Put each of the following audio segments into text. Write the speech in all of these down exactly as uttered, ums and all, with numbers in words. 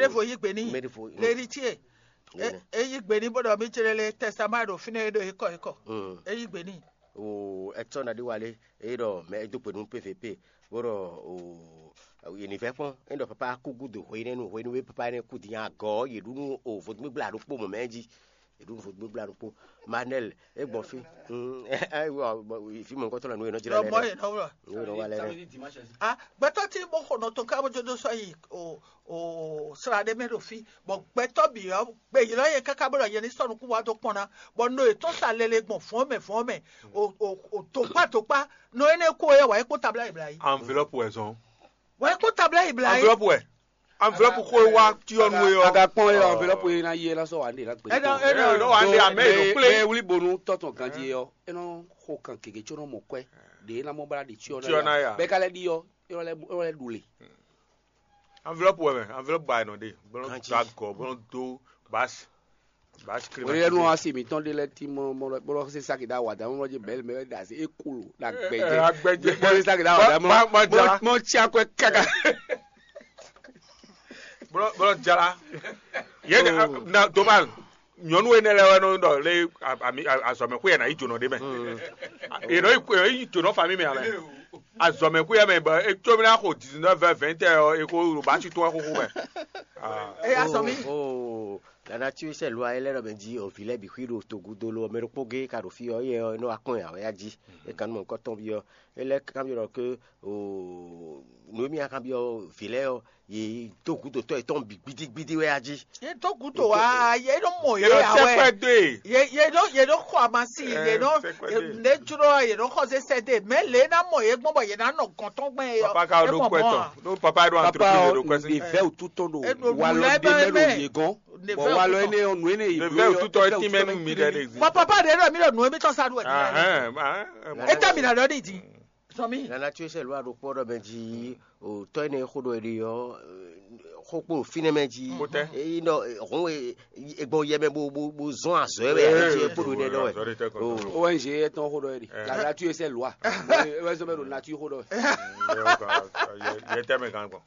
Evo yí gbe n'i. Mɛɖevo. Leri tie. Yɛnɛ. E yí gbe n'i bó ɖɔ mí jlé lé tɛsama ɖo fínɛ́ e ɖo é kɔ é kɔ. Mm. E yí gbe n'i. O, ɛtɔ na ɖi wale, e ɖɔ mɛ e dó gbe nú P V P, bó ɖɔ o, yě ní vɛ́ kpɔ́n, e ɖɔ papa kú gúdo hwenɛ́nu, hwenu e papa énɛ́ kú din agɔ̌, yě ɖu nú o vodúngbígbla ɖokpó mɔ̌ mɛ jí. Yě ɖu nú vodúngbígbla ɖokpó. Manɛl, e gbɔn fí. Mm, e, e, wa, wa, fí mɔ̌hunkɔtɔn lɛ nú e nɔ jlɛ́ Ɖɔ lɛ mɔ ɖɛ. Yě nɔ wlɔ. Nú e nɔ wa lɛ ɖɛ. Ah, gbɛtɔ́ tí bó xɔ nɔ tɔn ká bó jó dó sɔ́ yi o o sra ɖé mɛ ɖo fí, bɔ gbɛtɔ́ bǐ ɔ́ gbe ylɔ́ yě káká bó ɖɔ yě ní sɔ́ nukún wá dó kpɔ́n ná, bɔ no yětɔn sa lele gbɔn vɔ̌ɔn mɛ vɔ̌ɔn mɛ, o o o tokpá tokpá, nɔ énɛ́ kó ɔ́ wǎ é kpó tabla yi bla yi. Enveloppe wɛ zɔn. Wǎ é kpó tabla yi bla yi. Enveloppe wɛ. Enveloppe xó e wá cyɔ́ nú é ɔ́. A ka kpɔ́n é ɔ, enveloppe e ná yi é ná sɔ́ wǎ ɖe ná gbé. Ɛ nɔ ɛ nɔ Ɖɔ wǎ ɖe amɛ ɖo kplé. Mɛ wlí bonu tɔ́ tɔn ganjí é ɔ́, é nɔ xo kan gěgé có nɔ mɔ kwɛ́ ɖě é ná mɔ bla ɖi cyɔ Cyɔ ná ná ya. Ya. Bɛ́ ka lɛ́ ɖi ɔ́, é nɔ lɛ́ é nɔ lɛ́ ɖu le. Enveloppe wɛ mɛ, enveloppe ba ɛ nɔ ɖe, bɔlɔn Ganjí. Do agɔ, bɔlɔn do basi, basi kle. Oye nu asi mi tɔn de lɛ ti mɔ mɔ bɔlɔ se saki da wa da mɔ je bɛl mɛ da se e kulu da gbɛjɛ. Agbɛjɛ. Bɔlɔ se saki da wa da mɔ Ma- ma- ma jala. Mɔ mɔ tsi akwɛ kaka. Bɔlɔ bɔlɔ jala. Ye Oh. Na domal. Nyɔnu enɛ lɛ wɛ nɔ ɖɔ lé ami azɔmɛxwé yɛ na yi jonɔ ɖe mɛ. Yɛ nɔ yi jonɔ fami mɛ amɛ. Azɔmɛxwé yɛ mɛ bɔ etsɔmina xo dix-neuf heures vingt heures ɔ eko ɖo ba tsi tɔn xoxo mɛ. Ah. Eya sɔ mi. Oh, oh. La nature sɛ lwa e lɛ ɖɔ mɛ jí o vi lɛ bi xwi ɖo togudo lo mɛ ɖokpó gé ka ɖo fi ɔ yɛ ɔ nɔ akɔn ya wɛ ya jí. E kan nɔ kɔtɔn bi ɔ e lɛ kan bi ɖɔ ke o nu mi kan bi ɔ vi lɛ ɔ ye dó gǔdo tɔ́ yětɔn bǐ gbídígbídí wɛ a jí. Ye dó gǔdo wá, ye ɖo mɔ ye Yɛɖɔ ya wɛ. Sɛkpɛ dó e. Ye ye ɖo ye ɖo xɔ amasi, ye Ɛ, ɖo sɛkpɛ dó e. Ne jló ye ɖo xɔ sɛsɛ de, mɛ lě ná mɔ ye gbɔn bɔ ye ná nɔ gɔntɔn gbɛn ye. Papa ka ɖo kɔ ɛtɔn. Ɖo papa ɖo Papa entreprise ɖo kɔ ɔ, ɛsɛ. Ɖe vɛ́ wútu tɔn ɖo Eɖo walɔ nǔ lɛ́ɛ ɖe bɛ mɛ ɖo mɛ. Ye gɔn. Ɖe Bɔn vɛ́ walɔ wútu tɔn. Énɛ́ ɔ nǔ énɛ́ ye Ɖe vɛ́ wútu tɔn ɛ tínmɛ nú mi ɖɛ ɖe. Bɔ papa ɖe ɖɔ mi ɖɔ nǔ emi tɔn sa ɖu ɛ. Ahɛn, ahɛn. E tɛ mi na ɖɔ ɖi di. Sɔmi. Nana tso sɛ lua ɖo kpɔ ɖɔ mɛ jí o tɔ ene xo ɖɔ ɖi ɔ xo kpo finɛ mɛ jí. Kpotɛ. Eyi nɔ hɔn e gbɔ yɛ mɛ bo bo bo zɔn azɔ yɛ mɛ Ee, jí kpo ɖo nɛ dɔ wɛ. Azɔ ɖe tɛ kɔn. O. O N G etɔn xo ɖɔ yɛ ɖi. Ɛ. La nature c'est loi. Wɛ sɔ bɛ ɖo nature xo ɖɔ wɛ. Yɛ tɛ mɛ kan gbɔn.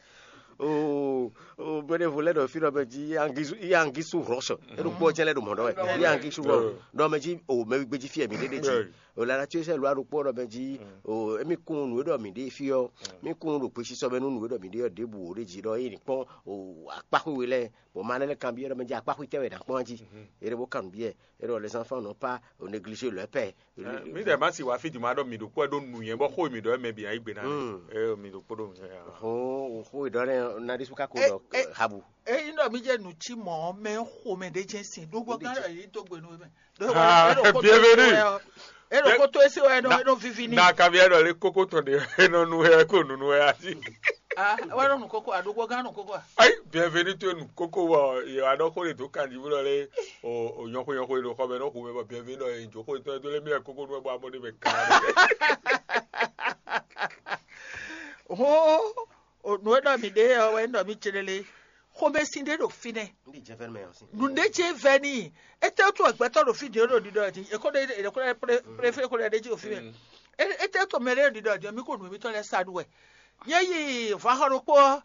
O o bɛnɛ vo lɛ ɖɔ fi ɖɔ mɛ jí yangisu yangisu rɔsɔ. E ɖo kpɔ jɛ lɛ ɖo mɔ ɖɔ wɛ yangisu rɔ. Ɖɔ mɛ jí o mɛ gbedzi fi mi ɖe ɖe jí. O la nature c'est loi ɖo kpɔ ɖɔ mɛ jí o emi kun nu e ɖɔ mi ɖe fi ɔ mi kun ɖo gbesisɔ mɛ nu nu e ɖɔ mi ɖe ɔ ɖebu o ɖe jí ɖɔ eyi ni kpɔn o akpaxwe we lɛ bɔ ma lɛ kan biɛ ɖɔ mɛ jí akpaxwe tɛ wɛ na kpɔn jí e ɖe bo kan nu biɛ e ɖɔ les enfants n'ont pas o négliger leur père. Mi dɛ ma si wa fi di ma ɖɔ mi ɖo kpɔ ɖo nu yɛn bɔ xo mi ɖɔ mɛ bi ayi gbe na Mm. E mi ɖo kpɔ ɖo mi yɛn. Ho ho ɖɔ ne na ɖi suka ko E- ɖɔ e- habu. Eyi nɔ mi jɛ nu ci mɔ mɛ xomɛ ɖe jɛ sin ɖo gbɔ kan ɖɔ yi do gbe nu mɛ. Ah, bienvenue. E ɖo koto esi wɛ e nɔ vivi ni. Na kavi ɛɖɔ le koko tɔn de e nɔ nu wɛ ko nunu wɛ asi. Ah, wɛ nɔ nu koko a ɖo gbɔ kan nu koko a. Ayi, bienvenue to nu koko wɔ ye wa ɖɔ ko le do kan di wulɔ le o o nyɔko nyɔko le do xɔ mɛ nɔ xomɛ bɔ bienvenue dɔ ye jo ko tɔn do le mi koko nu wɛ bɔ amɔ de mɛ kan. Ho o nu e ɖɔ mi ɖe ɔ wɛ ɖɔ mi tse lele. Xomɛsin ɖé ɖo fínɛ́. Nunɖé ce vɛ n'i. Étɛ́ tó gbɛtɔ́ ɖo fí din ɖo ɖiɖɔ din? Ekó ɖe ekó ɖe préfé kó ɖe ɖe jí ɖo fí mɛ. Étɛ́ tó mɛ ɖé ɖiɖɔ din? Mi ko nǔ mitɔn lɛ́ɛ sa ɖu wɛ. Nyɛ yi vǎxɔ ɖokpó ɔ́,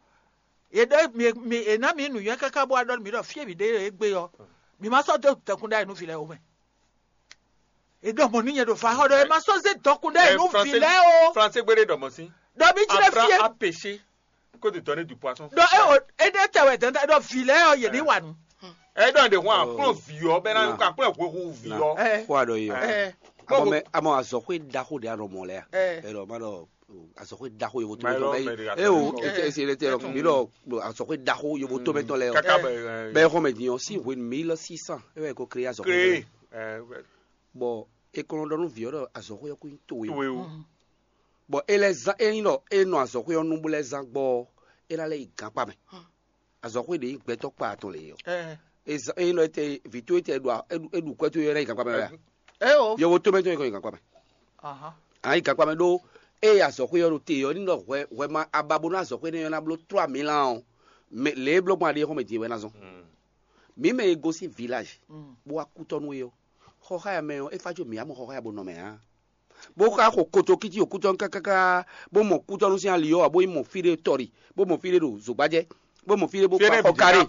è ɖɔ mi mi è ná mi nǔnywɛ́ káká bó wá ɖɔ mi ɖɔ fí e mi ɖe é gbé ɔ́, mi ma sɔ́ dó dɛkun ɖ'ayǐ nú vǐ lɛ́ɛ ó mɛ. È ɖɔ mɔ̌ nú nyɛ ɖo vǎxɔ ɖɔ è ma sɔ́ zé dɔkun ɖ'ayǐ nú vǐ lɛ́ɛ ó. Français gbé ɖé ɖɔ mɔ̌ sín. Ɖɔ mi jí ɖe fí é. Apprends à pêcher que de donner du poisson. Ɖɔ é o éɖée tɛ wɛ dɛndɛn ɖɔ vǐ lɛ́ɛ ɔ yě ní wa nǔ. Ɛ ɖɔ ɖe hɔn akplɔ vǐ ɔ bɛ na akplɔ hwehu vǐ ɔ. Ɛ Xó aɖɔ yi ɔ. Ɛ Amɔ mɛ amɔ azɔxwe ɖaxo ɖe anɔ mɔ lɛ a? Ɛ Ɛlɔ ma ɖɔ azɔxwe ɖaxo yovo to Mayi lɔ mɛ mɛ ɖe e o gake. Ete ese le te mi ɖɔ azɔxwe ɖaxo yovo to mɛ tɔn lɛ ɔ. Kaka bɛ Bɛ xɔmɛ din ɔ si hwenu mille six cents e wɛ ko créé azɔxwe. Créé. Ɛ Bɔ e kɔn ɖɔ nú vǐ ɔ ɖɔ azɔxwe ɔ ko nyí towe o. Towe o. Bɔ e lɛ zán e nyí ɖɔ e nɔ azɔxwe ɔ nu bó lɛ zán gbɔ ɔ, é ná lɛ́ yi gankpá mɛ. Azɔxwe ɖě nyí gbɛtɔ́ kpa atɔn lě ɔ́. Ɛ E zán e nyí ɖɔ e tɛ vǐ towe tɛ ɖu a- e ɖu- e ɖu kwɛ́ towe ɔ́, é ná yi gankpá mɛ wɛ a? Ɛ o. Yɔvo tómɛ tɔn yi kɔ yi gankpá mɛ. Ahan. A yi gankpá mɛ ɖó eye azɔxwe ɔ́ ɖo te ɔ́ ní ɖɔ hwɛ hwɛ ma aba bónú azɔxwe énɛ́ ɔ́ ná bló trois mille ans ɔ́, mɛ lě e bló gbɔn aɖé xɔmɛ din é wɛ ná zɔn. Mǐ mɛ e gosín vilage Mm. bó wá kútɔ́ nú we ɔ́, xɔxáya mɛ ɔ́ é fá jó mǐ á mɔ xɔxáya bó nɔ mɛ ǎ. Bó xá xo kotokíti ɖo kútɔ́ kákáká bó mɔ kútɔ́nú sín ali ɔ́ ǎ, bó yi mɔ fí ɖé tɔ́ ɖi, bó mɔ fí ɖé ɖo zǒgbájɛ, bó mɔ fí ɖé bó Fí énɛ́ kpá xɔ bǐ ká karé. Ko